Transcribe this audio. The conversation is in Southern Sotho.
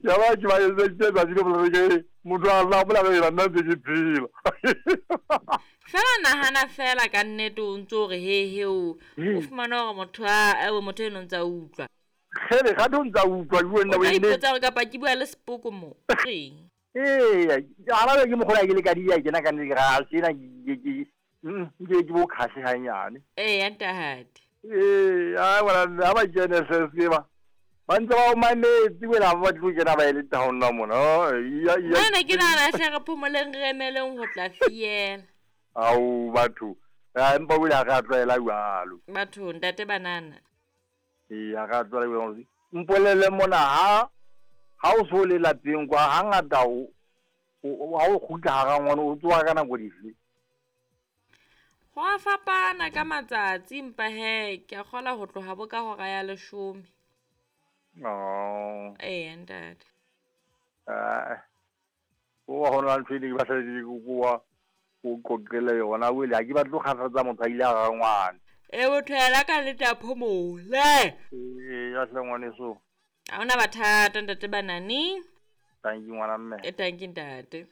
Ya ba ke ba etseditse tsatsi le bolele ke motho a lla bola ka nna ntse ke phela. Fela nahana fela ka nnete o ntse o re he he o o fumana hore motho a ewe motho eno ntse a utlwa. Kgele gate o ntse a utlwa ke wena O ka ipotsa hore kapa ke bua le sepoko mo. Reng? Ee, gana ke mokgona ke le ka dia kena ka nnete ga sena ke ke ke ke bo khahle hanyane. Ee, ntate. Ee, a bona ha ba kene se ba. Ba ntse ba o mametse wena ba tlo kena ba ele town na mona. Iya iya. Nna ke nahana hle re phomoleng re emeleng ho tla fiela. Au batho. A empa o ile a re tlwaela jwalo. Batho ntate banana. Ee, a re tlwaela jwalo. Mpolele mona ha ha o so le lapeng kwa hangata o ha o kgutla hara ngwana o tsoha ka nako dife? Go a fapana ka matsatsi empa he ke a kgola ho tloha bo ka hora ya 10. Oh. Ee, ntate. Eh. O wa hona ntho e ne ke batla ke ko o qoqele yona o ile ha ke batle ho kgathatsa motho a ile a ra ngwana. E motho yena ka le tla phomole. Ee, ya hle ngwaneso. Ha hona mathata ntate Banani. Thank you ngwana mme. E thank you ntate.